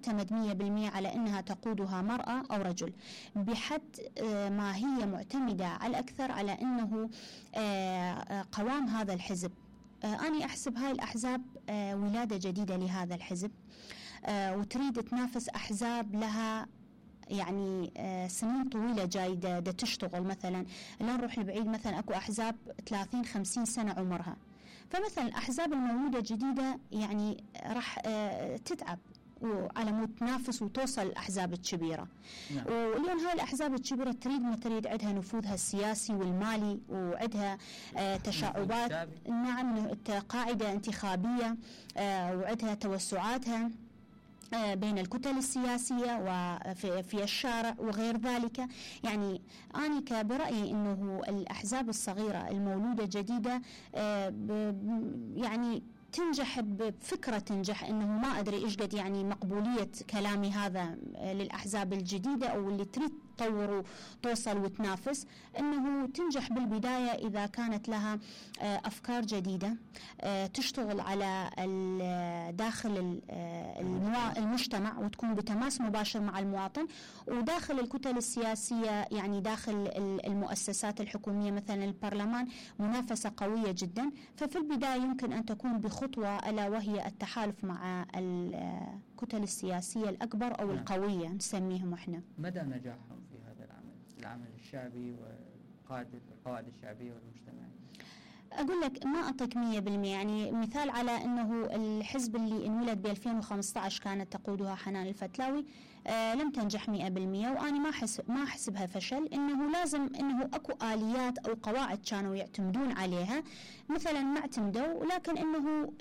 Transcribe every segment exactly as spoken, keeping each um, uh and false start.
معتمد مية بالمية على أنها تقودها مرأة أو رجل، بحد ما هي معتمدة على الأكثر على أنه قوام هذا الحزب. أنا أحسب هاي الأحزاب ولادة جديدة لهذا الحزب، وتريد تنافس أحزاب لها يعني سنين طويلة جايدة تشتغل. مثلا لا نروح لبعيد، مثلا أكو أحزاب ثلاثين خمسين سنة عمرها، فمثلا الأحزاب المولودة الجديدة يعني راح تتعب وعلى مود تنافس وتوصل الأحزاب الكبيرة. نعم. واليوم هاي الأحزاب الكبيرة تريد ما تريد عندها نفوذها السياسي والمالي، وعندها آه تشعبات، نعم، قاعدة انتخابية، آه وعندها توسعاتها بين الكتل السياسية وفي في الشارع وغير ذلك. يعني أنا كبرأيي أنه الأحزاب الصغيرة المولودة جديدة يعني تنجح بفكرة، تنجح انه ما ادري ايش قد يعني مقبولية كلامي هذا للاحزاب الجديدة او اللي تريد تطور وتوصل وتنافس، انه تنجح بالبداية اذا كانت لها افكار جديدة تشتغل على داخل المجتمع وتكون بتماس مباشر مع المواطن، وداخل الكتل السياسية يعني داخل المؤسسات الحكومية مثلا البرلمان منافسة قوية جدا. ففي البداية يمكن ان تكون بخطوة ألا وهي التحالف مع الكتل السياسية الأكبر أو القوية نسميهم إحنا. مدى نجاحهم في هذا العمل العمل الشعبي والقواعد القواعد الشعبية والمجتمعية؟ أقول لك ما أعطيك مية بالمية. يعني مثال على أنه الحزب اللي انولد ب ألفين وخمسة عشر كانت تقودها حنان الفتلاوي آه لم تنجح مية بالمية، وأنا ما حسب ما أحسبها فشل، إنه لازم إنه أكو آليات أو قواعد كانوا يعتمدون عليها مثلا ما اعتمدوا، لكن إنه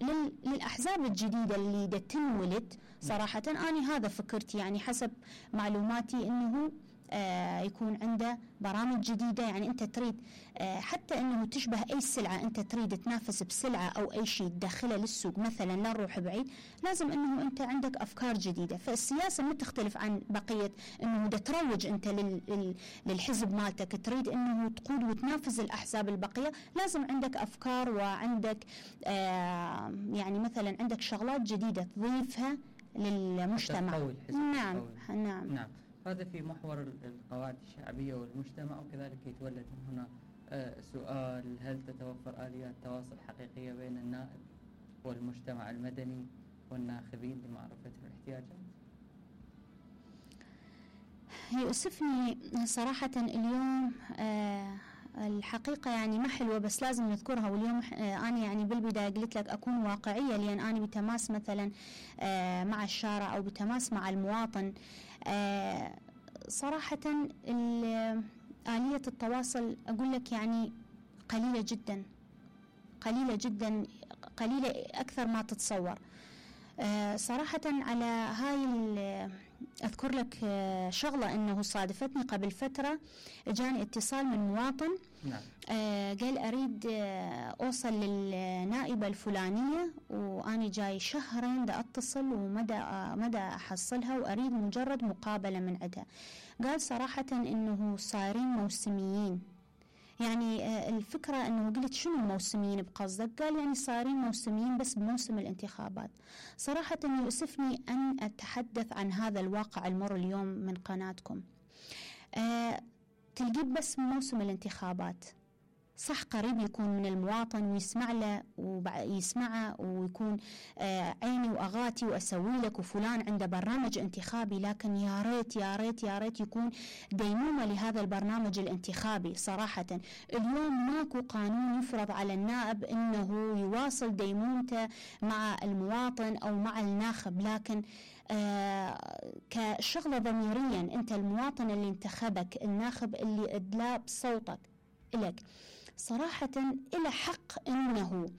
للأحزاب الجديدة اللي تنولد صراحة أنا هذا فكرتي يعني حسب معلوماتي إنه آه يكون عنده برامج جديدة. يعني أنت تريد آه حتى أنه تشبه أي سلعة، أنت تريد تنافس بسلعة أو أي شيء تدخله للسوق مثلا، لا نروح بعيد، لازم أنه أنت عندك أفكار جديدة. فالسياسة ما تختلف عن بقية أنه دا تروج أنت لل للحزب مالتك، تريد أنه تقود وتنافس الأحزاب البقية، لازم عندك أفكار وعندك آه يعني مثلا عندك شغلات جديدة تضيفها للمجتمع. نعم نعم نعم. هذا في محور القواعد الشعبية والمجتمع، وكذلك يتولد من هنا آه سؤال: هل تتوفر آليات تواصل حقيقية بين النائب والمجتمع المدني والناخبين لمعرفة الاحتياجات؟ يؤسفني صراحة اليوم آه الحقيقة يعني ما حلوة بس لازم نذكرها. واليوم أنا يعني بالبداية قلت لك أكون واقعية، لأن أنا بتماس مثلا مع الشارع أو بتماس مع المواطن. صراحة آلية التواصل أقول لك يعني قليلة جدا قليلة جدا قليلة أكثر ما تتصور. صراحة على هاي أذكر لك شغلة أنه صادفتني قبل فترة، جاني اتصال من مواطن نعم. آه قال أريد آه أوصل للنائبة الفلانية وأنا جاي شهرين دا أتصل ومدى آه مدى أحصلها وأريد مجرد مقابلة من عندها. قال صراحة أنه صايرين موسميين. يعني آه الفكرة أنه قلت شنو الموسميين بقصدك؟ قال يعني صايرين موسميين بس بموسم الانتخابات. صراحة يؤسفني أن أتحدث عن هذا الواقع المر اليوم من قناتكم. آه تلقيه بس بموسم الانتخابات، صح قريب يكون من المواطن ويسمع له ويسمعه ويكون آه عيني وأغاتي وأسوي لك وفلان عنده برنامج انتخابي، لكن يا ريت يا ريت يا ريت يكون ديمومة لهذا البرنامج الانتخابي. صراحة اليوم ماكو قانون يفرض على النائب انه يواصل ديمومته مع المواطن او مع الناخب، لكن آه كشغلة ضميريا انت المواطن اللي انتخبك، الناخب اللي ادلى بصوتك إلك، صراحة إلى حق أنه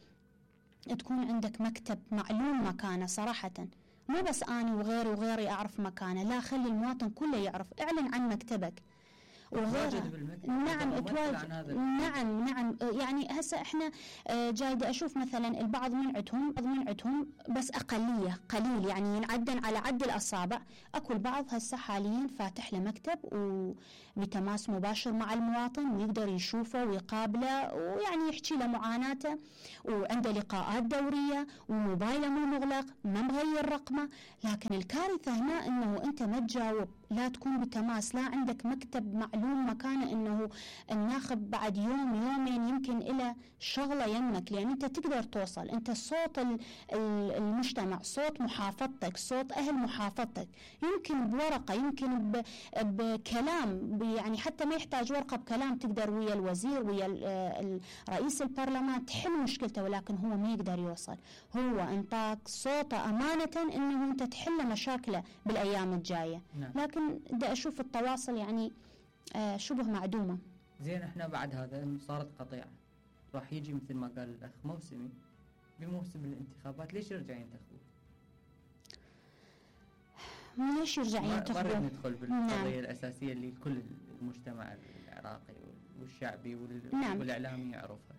تكون عندك مكتب معلوم مكانه. صراحة مو بس أنا وغيري وغيري أعرف مكانه، لا، خلي المواطن كله يعرف. اعلن عن مكتبك تواجد بالمكتب. نعم تواجد. نعم نعم يعني هسه احنا جايده اشوف مثلا البعض من عندهم بعض من عندهم بس اقليه قليل يعني ينعدن على عد الاصابع. اكو البعض هسه حاليا فاتح له مكتب وبتماس مباشر مع المواطن ويقدر يشوفه ويقابله ويعني يحكي له معاناته وعنده لقاءات دوريه وموبايله مو مغلق ما مغير رقمه. لكن الكارثه هنا انه انت ما تجاوب، لا تكون بتماس، لا عندك مكتب معلوم مكانه انه الناخب بعد يوم يومين يمكن الى شغله يمك، لان انت تقدر توصل، انت صوت المجتمع، صوت محافظتك، صوت اهل محافظتك، يمكن بورقه يمكن بكلام يعني حتى ما يحتاج ورقه، بكلام تقدر ويا الوزير ويا رئيس البرلمان تحل مشكلته، ولكن هو ما يقدر يوصل. هو انطاك صوته امانه انه انت تحل مشاكله بالايام الجايه. نعم. لكن بدي اشوف التواصل يعني آه شبه معدومه. زين احنا بعد هذا صارت قطيعه، راح يجي مثل ما قال الاخ موسمي بموسم الانتخابات، ليش يرجع ينتخبون؟ ليش يرجع ينتخبون؟ ما ندخل بالقضيه نعم. الاساسيه اللي كل المجتمع العراقي والشعبي نعم. والاعلامي يعرفها.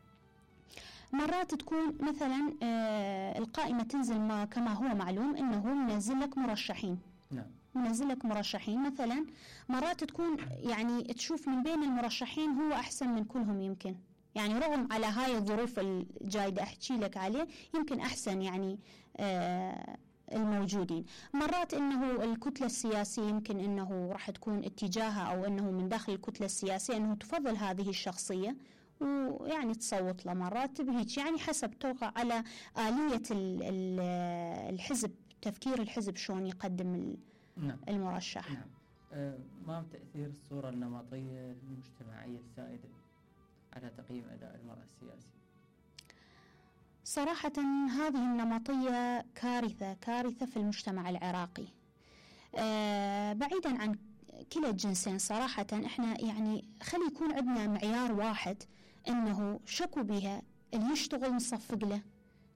مرات تكون مثلا آه القائمه تنزل ما كما هو معلوم انه منزل لك مرشحين. نعم. منزل لك مرشحين مثلا، مرات تكون يعني تشوف من بين المرشحين هو احسن من كلهم يمكن، يعني رغم على هاي الظروف الجايدة احكي لك عليه يمكن احسن يعني آه الموجودين. مرات انه الكتلة السياسية يمكن انه راح تكون اتجاهها او انه من داخل الكتلة السياسية انه تفضل هذه الشخصية ويعني تصوت له، مرات بهيك يعني حسب توقع على آلية الحزب، تفكير الحزب شلون يقدم نعم. المرشح. نعم. أه ما تأثير الصورة النمطية المجتمعية السائدة على تقييم أداء المرأة السياسي؟ صراحة هذه النمطية كارثة كارثة في المجتمع العراقي. أه بعيدا عن كلا الجنسين صراحة احنا يعني خلي يكون عندنا معيار واحد انه شكو بها اللي يشتغل نصفق له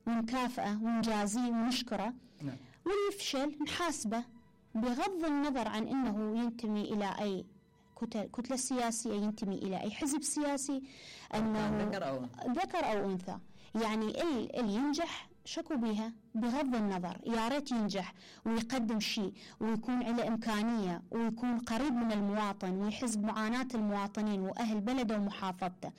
ونكافئه ونجازيه ونشكره. نعم. واللي يفشل نحاسبه بغض النظر عن انه ينتمي الى اي كتلة سياسية، ينتمي الى اي حزب سياسي، انه ذكر او ذكر او انثى. يعني اللي ينجح شكو بها بغض النظر، يا ريت ينجح ويقدم شيء ويكون له إمكانية ويكون قريب من المواطن ويحس بمعاناة المواطنين وأهل بلده ومحافظته.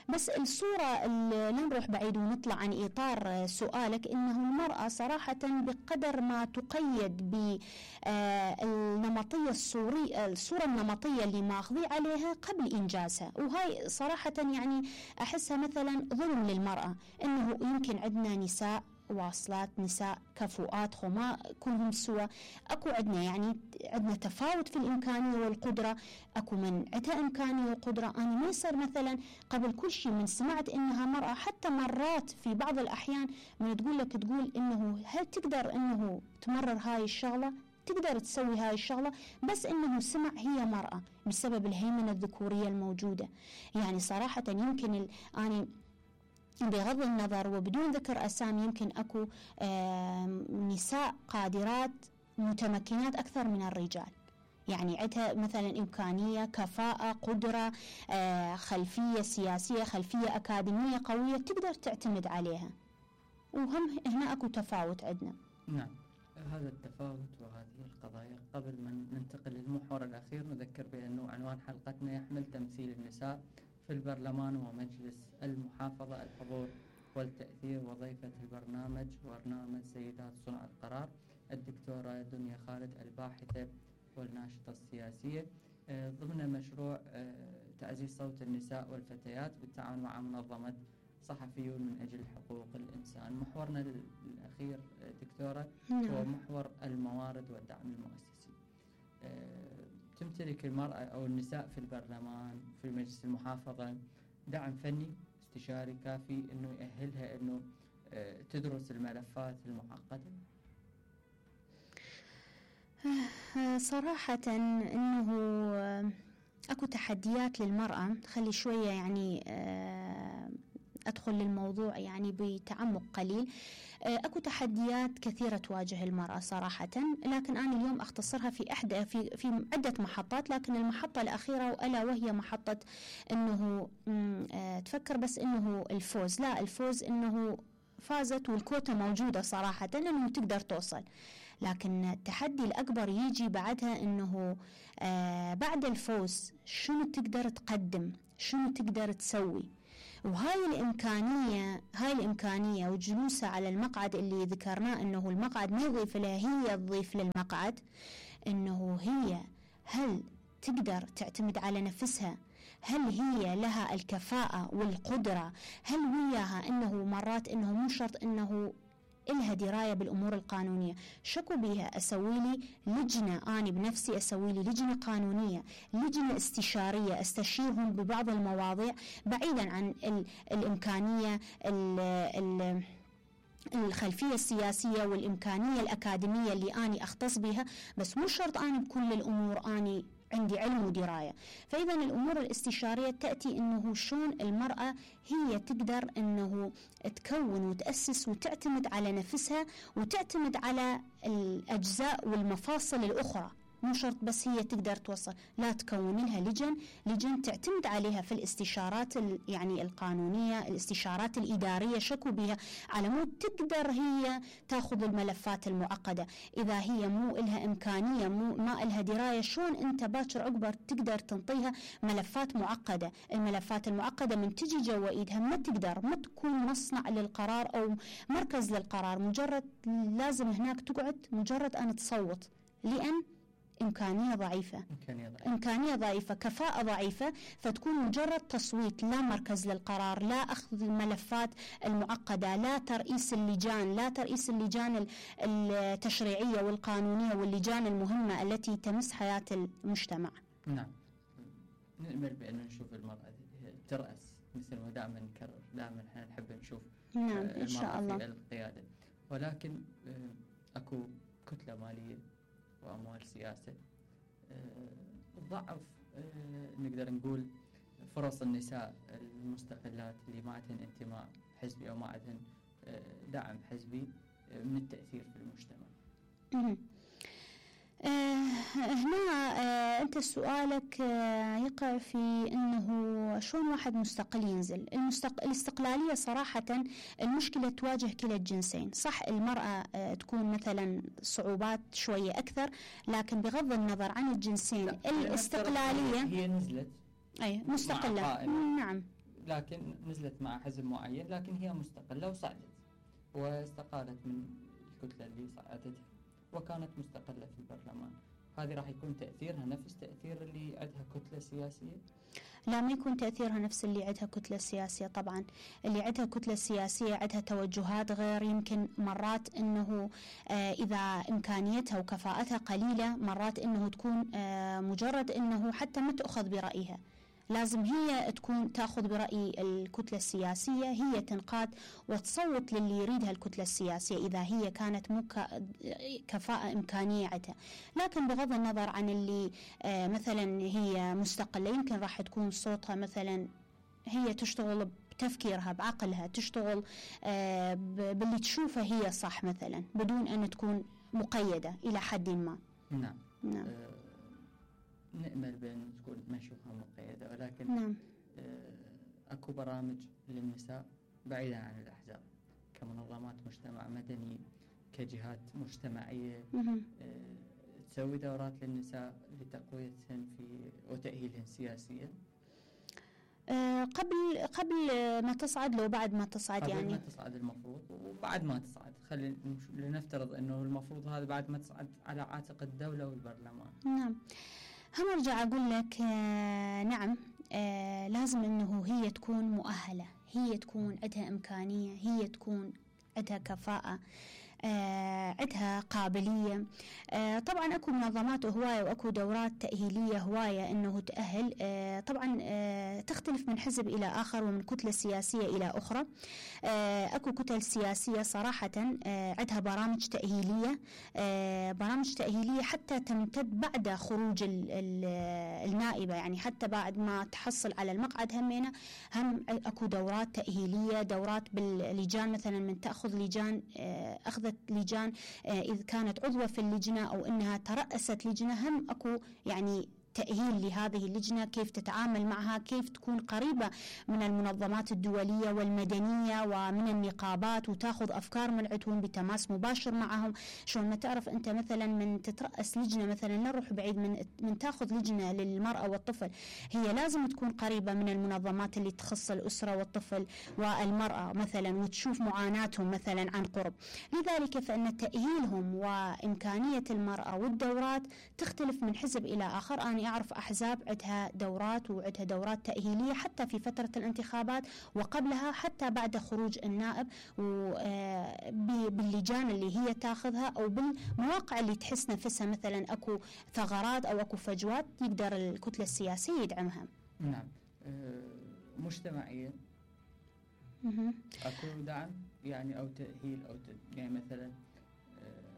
بس الصورة اللي نروح بعيد ونطلع عن إطار سؤالك، إنه المرأة صراحة بقدر ما تقيد بالنمطية الصورية، الصورة النمطية اللي ماخذي عليها قبل إنجازها، وهاي صراحة يعني أحسها مثلا ظلم للمرأة. إنه يمكن عندنا نساء واصلات، نساء كفؤات خما كلهم سوا، اكو عندنا يعني عندنا تفاوت في الامكانيه والقدره، اكو من عندها امكانيه وقدره. انا ما يصير مثلا قبل كل شيء من سمعت انها مراه، حتى مرات في بعض الاحيان من تقول لك تقول انه هل تقدر انه تمرر هاي الشغله، تقدر تسوي هاي الشغله، بس انه سمع هي مراه بسبب الهيمنه الذكوريه الموجوده. يعني صراحه يمكن انا بغض النظر وبدون ذكر أسامي يمكن أكو نساء قادرات متمكنات أكثر من الرجال، يعني عندها مثلا إمكانية، كفاءة، قدرة، خلفية سياسية، خلفية أكاديمية قوية تقدر تعتمد عليها، وهم هنا أكو تفاوت عندنا. نعم، هذا التفاوت وهذه القضايا. قبل ما ننتقل للمحور الأخير نذكر بأنه عنوان حلقتنا يحمل تمثيل النساء في البرلمان ومجلس المحافظة، الحضور والتأثير. وضيفة البرنامج برنامج سيدات صنع القرار الدكتورة دنيا خالد، الباحثة والناشطة السياسية ضمن مشروع تعزيز صوت النساء والفتيات بالتعاون مع منظمة صحفيون من أجل حقوق الإنسان. محورنا الأخير دكتورة هو محور الموارد والدعم المؤسسي. تمتلك المرأة أو النساء في البرلمان في مجلس المحافظة دعم فني استشاري كافي أنه يأهلها أنه تدرس الملفات المعقدة؟ صراحة أنه أكو تحديات للمرأة، خلي شوية يعني أدخل للموضوع يعني بتعمق قليل. أكو تحديات كثيرة تواجه المرأة صراحة، لكن أنا اليوم أختصرها في أحد في في عدة محطات، لكن المحطة الأخيرة ألا وهي محطة إنه تفكر بس إنه الفوز، لا، الفوز إنه فازت والكوتا موجودة صراحة إنه تقدر توصل، لكن التحدي الأكبر يجي بعدها إنه آه بعد الفوز شنو تقدر تقدم، شنو تقدر تسوي. وهاي الإمكانية هاي الإمكانية وجلوسها على المقعد اللي ذكرناه إنه المقعد ما يضيف لها، هي تضيف للمقعد، إنه هي هل تقدر تعتمد على نفسها، هل هي لها الكفاءة والقدرة، هل وياها إنه مرات إنه مو شرط إنه إلها دراية بالأمور القانونية. شكو بيها أسوي لي لجنة، أنا بنفسي أسوي لي لجنة قانونية، لجنة استشارية أستشيرهم ببعض المواضيع بعيدا عن ال الإمكانية ال ال الخلفية السياسية والإمكانية الأكاديمية اللي أنا أختص بها، بس مو شرط أنا بكل الأمور أنا عندي علم ودراية. فإذا الأمور الاستشارية تأتي إنه شون المرأة هي تقدر إنه تكون وتأسس وتعتمد على نفسها وتعتمد على الأجزاء والمفاصل الأخرى، مو شرط بس هي تقدر توصل، لا، تكون لها لجن لجن تعتمد عليها في الاستشارات يعني القانونية، الاستشارات الإدارية، شكو بها على مود تقدر هي تاخذ الملفات المعقدة. إذا هي مو إلها إمكانية، مو ما إلها دراية، شون أنت باكر عقبر تقدر تنطيها ملفات معقدة؟ الملفات المعقدة من تجي جوا إيدها ما تقدر، ما تكون مصنع للقرار أو مركز للقرار، مجرد لازم هناك تقعد مجرد أن تصوت، لأن إمكانية ضعيفة إمكانية ضعيفة, إمكانية ضعيفة كفاءة ضعيفة، فتكون مجرد تصويت، لا مركز للقرار، لا أخذ الملفات المعقدة، لا ترئيس اللجان، لا ترئيس اللجان التشريعية والقانونية واللجان المهمة التي تمس حياة المجتمع. نعم، نأمل بأن نشوف المرأة ترأس مثل ما دائما نكرر، دائما احنا نحب نشوف نعم إن شاء الله في القيادة، ولكن أكو كتلة مالية وأموال سياسة ضعف نقدر نقول فرص النساء المستقلات اللي ما عندهن انتماء حزبي أو ما عندهن دعم حزبي من التأثير في المجتمع. آه هنا آه أنت سؤالك آه يقع في أنه شلون واحد مستقل ينزل. المستق... الاستقلالية صراحة المشكلة تواجه كلا الجنسين، صح المرأة آه تكون مثلا صعوبات شوية أكثر، لكن بغض النظر عن الجنسين الاستقلالية هي نزلت أي مستقلة، نعم، لكن نزلت مع حزب معين، لكن هي مستقلة وصعدت واستقالت من الكتلة اللي صعدتها وكانت مستقلة في البرلمان. هذه راح يكون تأثيرها نفس تأثير اللي عندها كتلة سياسية؟ لا، ما يكون تأثيرها نفس اللي عندها كتلة سياسية. طبعا اللي عندها كتلة سياسية عندها توجهات غير، يمكن مرات انه آه اذا امكانيتها وكفاءتها قليلة مرات انه تكون آه مجرد انه حتى ما تأخذ برأيها، لازم هي تكون تأخذ برأي الكتلة السياسية، هي تنقاد وتصوت للي يريدها الكتلة السياسية إذا هي كانت مو كفاءة إمكانية عندها. لكن بغض النظر عن اللي آه مثلا هي مستقلة، يمكن راح تكون صوتها مثلا هي تشتغل بتفكيرها بعقلها، تشتغل آه باللي تشوفه هي صح مثلا، بدون أن تكون مقيدة إلى حد ما. نعم نعم أه نأمل بأن تكون ما نشوفها مقيدة، ولكن نعم. أكو برامج للنساء بعيدا عن الأحزاب كمنظمات مجتمع مدني، كجهات مجتمعية أه تسوي دورات للنساء لتقويتهن في وتأهيلهن سياسيا أه قبل قبل ما تصعد، لو بعد ما تصعد قبل يعني قبل ما تصعد المفروض وبعد ما تصعد، خلينا لنفترض أنه المفروض هذا بعد ما تصعد على عاتق الدولة والبرلمان. نعم، هم ارجع اقول لك آه نعم آه لازم انه هي تكون مؤهلة، هي تكون عندها امكانية، هي تكون عندها كفاءة، آه عندها قابلية. آه طبعا أكو منظمات هواية وأكو دورات تأهيلية هواية إنه تأهل. آه طبعا آه تختلف من حزب إلى آخر ومن كتلة سياسية إلى أخرى. آه أكو كتل سياسية صراحة آه عندها برامج تأهيلية، آه برامج تأهيلية حتى تمتد بعد خروج ال ال النائبة، يعني حتى بعد ما تحصل على المقعد همينة هم أكو دورات تأهيلية، دورات باللجان مثلا من تأخذ لجان آه أخذت لجان آه إذا كانت عضوة في اللجنة أو إنها ترأست لجنة، هم أكو يعني تأهيل لهذه اللجنة، كيف تتعامل معها، كيف تكون قريبة من المنظمات الدولية والمدنية ومن النقابات وتاخذ أفكار من عندهم بتماس مباشر معهم. شلون ما تعرف أنت مثلا من تترأس لجنة مثلا، لا نروح بعيد، من من تاخذ لجنة للمرأة والطفل، هي لازم تكون قريبة من المنظمات اللي تخص الأسرة والطفل والمرأة مثلا وتشوف معاناتهم مثلا عن قرب. لذلك فإن تأهيلهم وإمكانية المرأة والدورات تختلف من حزب إلى آخر. أنا أعرف أحزاب عندها دورات وعندها دورات تأهيلية حتى في فترة الانتخابات وقبلها حتى بعد خروج النائب، باللجان اللي هي تاخذها أو بالمواقع اللي تحس نفسها مثلا أكو ثغرات أو أكو فجوات يقدر الكتلة السياسية يدعمها. نعم. مجتمعيا أكو دعم يعني أو تأهيل أو يعني مثلا